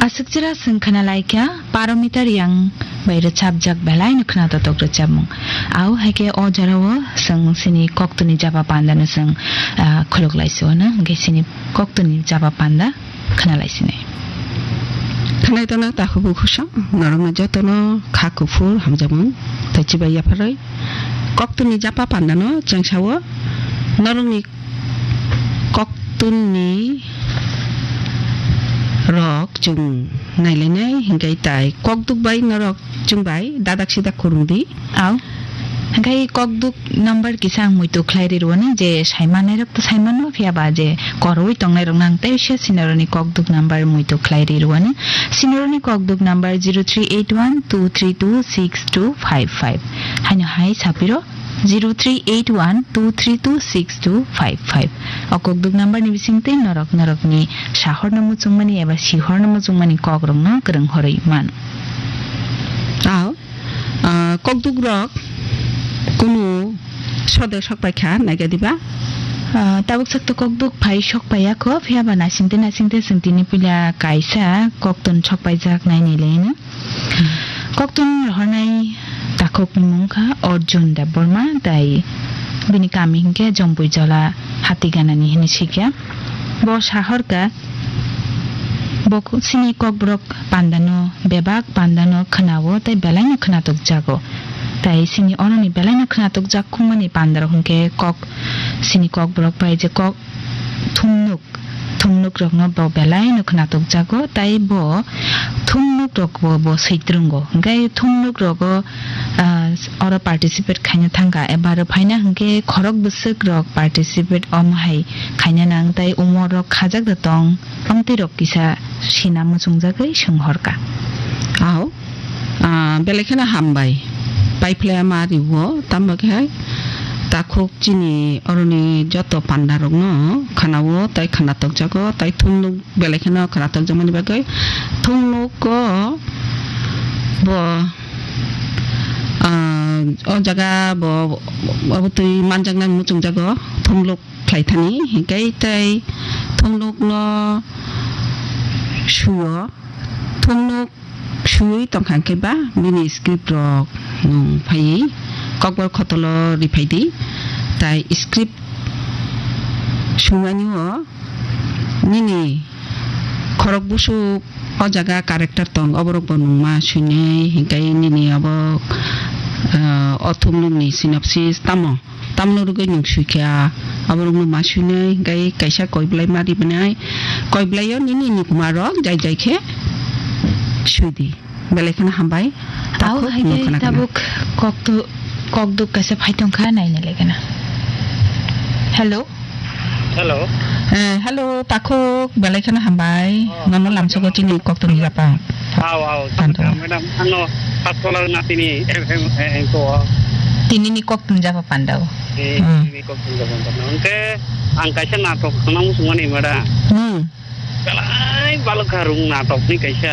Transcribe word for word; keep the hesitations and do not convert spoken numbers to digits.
Aswk jora chwng khna lai kha Paromita Reang bai rwchapjak belai no khna totok rwchapmung. Au hai khe o jora o chwng chini koktwni japa panda no chwng, ah, khuluk lai si o no, hwnkhe chini koktwni japa panda khna lai sini. Khwnai tono takhuk bukhuk song, norokno jotono kha kuphur hamjakmung tei chibai yapharwi. Koktwni japa pandano chwng sao, norokni koktwni rok chwng nailainai, hinkhe tai kokduk bai norok chwng bai dadak sidak khurung di. Au. Hwnkhe kokduk number kisa ang muitu khlai ri rwani, je sai manai rok to sai mano, phiya ba je koroi tongnai rok nang tei se sinoroni kokduk number muitu khlai ri rwani. Sinoroni kokduk number zero three eight one two three two six two five five. Haino hai sapiro zero three eight one two three two six two five five. O kokduk number ni bisingtwi norok norokni sahorno muchungmani eba sihorno muchungmani kokrokno kwrwng horwi mano. Au. Ah, kokduk rok kunu sode sok pai kha, naikha diba? Ah, tabuk sak to kokduk phai sok pai ya kho, phiya ba naisingte naisingte chwng tini puila kaisa koktun sok pai jak nai nai le no. Koktun rohornai takhuk ni mung kha Arjun Debbarma, tai bini kami hinkhe Jombui Jola Hatiganani hinwi sikya. Bo sahor ka Bo chini kokborok pandano, bebak pandano khwnao tei belaino khwnatok jago. Tai chini oroni belaino khwnatok jak khumani pandarok hwnkhe kok, chini kokborok bai je kok thumnuk, thumnuk rokno bo belaino khwnatok jago, tai bo thumnuk rokbo bo switrwngo. Hwnkhe thumnuk rogo, ah, oro participate khaina thangkha, eba rw phaina hwnkhe khorok bwswk rok participate omo hai khaina nang, tai umor rok khajak da tong. Amtwi rok kisa sina muchungjagwi swnghorka. Ao, ah, belai kheno hambai. Paiphlai ma riwo, tamo khe hai takhuk chini oroni joto panda rokno khwnao, tai khwnatok jago, tai thumnuk belai kheno khwnatok jakmani bagwi thumnuko bo, ah, o jaga bo, bo twi manjaknani muchungjago, thumluk khlai thani, hinkhe tei thumlukno suyo, thumluk suyui tongkha hinkhe ba bini script rok, um, phaiwi kokborok khotolo riphai di, tai script sumani o nini khorok busuk o jaga character tong, oborok bo nungma suinai, hinkhe nini obo, ah, o thumlukni synopsis tamo? Tamno rwgwi nwng sui kha, aborokno ma suinai, hinkhe kaisa koi belai ma ribanai, koi belaio nini nukma rok jai jai khe sui di. Belai kheno hambai. Tao takhuk hai nwng khe khna khe tabuk koktu-, kokduk kaisa phai tong kha, naina le gana. Hello? Hello. Eh, hello, takhuk, belai kheno hambai. Oh, nono lamsogo chini koktwni japa. Aw, aw, Pando. Madam, ano, Paskola na tini, em, em, em, ko. Tini ni koktwni japa pandao. Eh, hmm. Tini koktwni japa pandao. Hwnkhe, ang kaisa natok khna muchungmani, madam. Hmm. Belai balok kha rung natok ni kaisa.